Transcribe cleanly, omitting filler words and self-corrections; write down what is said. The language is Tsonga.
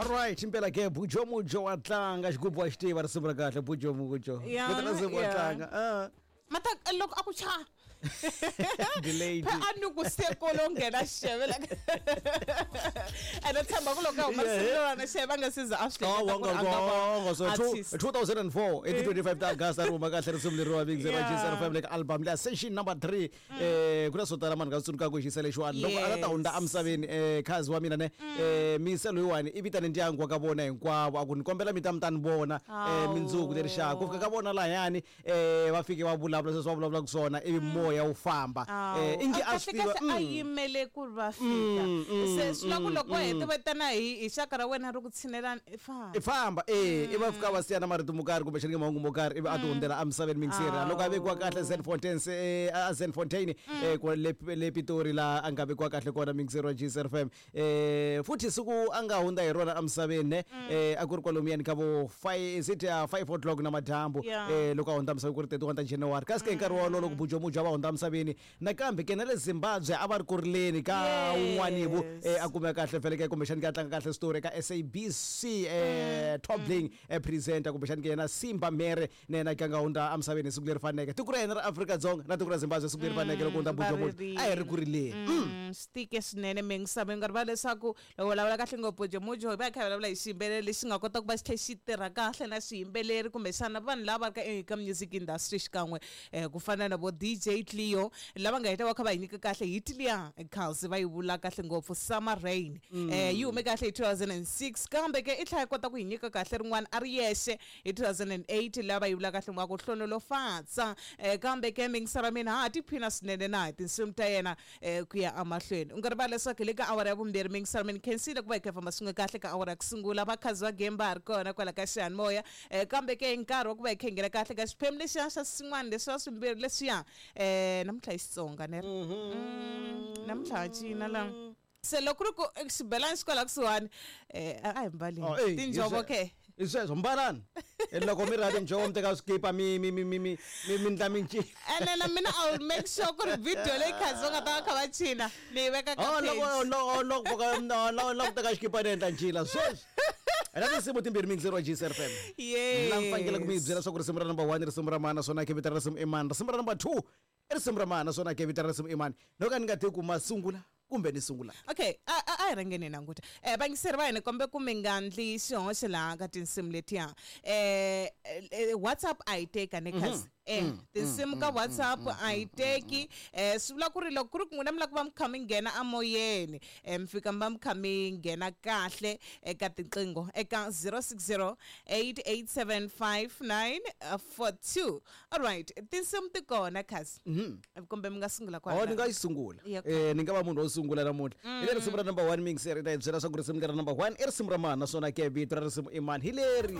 Alright, impela ke Bujo Mujo wa tlanga, xigubu wa xi tiva risimu ra kahle Bujo Mujo. Yeah, Vito ra risimu wa yeah. tlanga. Ah. Mata loko a ku cha. Delayed. Phe a ni ku se kolo nghena xeve la. Ene tshemba ku loko a huma risimu na xeve a nga se za a swi Oh, hleketa ku wanga ri a nga va wanga so artist. 2004 i ti 25 ta August a ri huma kahle risimu leriwa Big Zero Yeah. G 05 le ka album leya session number 3. Ku na swo tala mani nga swi tsundzuka ku xisa lexiwani loko a la ta hundza emisaveni, khazi wa mina ne, misa loyiwani i vitane ndyangu wa ka vona hinkwavo, a ku ni kombela mi ta mi ta ni vona mindzuku leri xaka ku fika ka vona lahayani, va fike va vulavula sweswi va vulavulaka swona, ivi moya wu famba. Ingi a swi kahle tiva kahle a yimele ku ri va fika, se swi vula ku loko va hete va tana hi xaka ra wena ri ku tshinelani, i famba. I famba, i va fika va siya na marito mo karhi kumbexani ke mahungu mo karhi, ivi a ti hundzela emisaveni mingiseri. Loko a vekiwa kahle Zenfontein, se a Zenfontein, kwa le Pitori la a nga vekiwa kahle kona mingiseri wa GCFM. Futhi siku a nga hundza hi rona emisaveni ne, a ku ri kwalomuyani ka vo 5, is it 5 o'clock na madyambu. Loko a hundza emisaveni ku ri 31 ta January, kasi ke hi nkarhi wolowo loko Bujo Mujo a va hundza emisaveni, nakambe ke na le Zimbabwe a va ri ku rileni ka wun'wani vu, a kumeka kahle vhele ke kumbexani ke a tlanga kahle story ka SABC, top bling, presenter kumbexani ke yena Simba Mere na yena ke a nga hundza emisaveni hi siku leri faneke. Tiko ra hina ra Afrika-Dzonga na tiko ra Zimbabwe siku leri faneke loko hundza va Bujo Mujo ririle. A hi ri ku rileni. Swi tike swinene mingisavo, nga rivala leswaku loko vulavula kahle ngopfu Bujo Mujo, hi va hi kha hi vulavula hi xiyimbeleri lexi nga kota ku va xi tlhe xi tirha kahle na swiyimbeleri kumbexana vanhu lava va ri ka eka music industry xikan'we, ku fana na vo DJ Cleo lava nga heta va kha va hi nyika kahle hit liya Khalsi va yi vula kahle ngopfu Summer Rain. Yi hume kahle hi 2006, kambe ke i tlhela yi kota ku hi nyika kahle rin'wana a ri yexe hi 2008 lava yi vula kahle nga ku hlonolofatsa. Kambe ke mingisara mina ha ha tiphina swinene na hi tinsimu ta yena, ku ya emahlweni. U nga rivali leswaku hi le ka awara ya vumbirhi mingisara mina khensile ku va hi kha hi famba swin'we kahle ka awara ya ku sungula, vakhazi va game va ha ri kona kwala ka xiyanimoya. Kambe ke hi nkarhi wa ku va hi kha hi nghena kahle ka xiphemu lexiya xa swin'wana leswiya swimbirhi leswiya, namuntlha hi Xitsonga ne ri namuntlha ha cina la, se loko ku ri ku xibelani xi kwala kusuhani, a hi mbali Oh, ey, tinjhovo ke. Hi sweswo mbalani. Loko mi ri tinjhovo mi teka swikipa mi ndla mincino. Ene na mina I will make sure ku ri video leyi khazi va nga ta va kha va cina ni yi veka ka Oh, loko page. loko loko loko loko teka xikipa ni endla ncila sweswi. Ena tinsimu timbirhi mingiseri wa GCFM. Yes. La mi fanekele ku mi byela swa ku risimu ra number 1 risimu ra mani, naswona ke vito ra risimu i mani. Risimu ra number 2 i risimu ra mani, naswona ke vito ra risimu i mani. No ka ni nga tivi ku ma sungula kumbe ni sungula. Okay, a hi rhangeni hi languta. Vayingiseri va hina, kombe ku mi nga ndli xihoxo laha ka tinsimu letiya. WhatsApp a yi teka ne khazi. Tinsimu ka WhatsApp a yi teki. Swi vula ku ri loko ku ri ku n'wina mi lava ku va mi kha mi nghena amoyeni, mi fika mi va mi kha mi nghena kahle eka tinqingho eka 060 887 5942. Alright, tinsimu ti kona khazi. Kumbe mi nga sungula Oh, ni nga yi sungula. Yeah. Ni nga va munhu wo sungula namuntlha. Hi le risimu ra number 1 mingiseri ta hi byela swa ku risimu lera number 1 i risimu ra mani, naswona ke vito ra risimu i mani. Hi leri.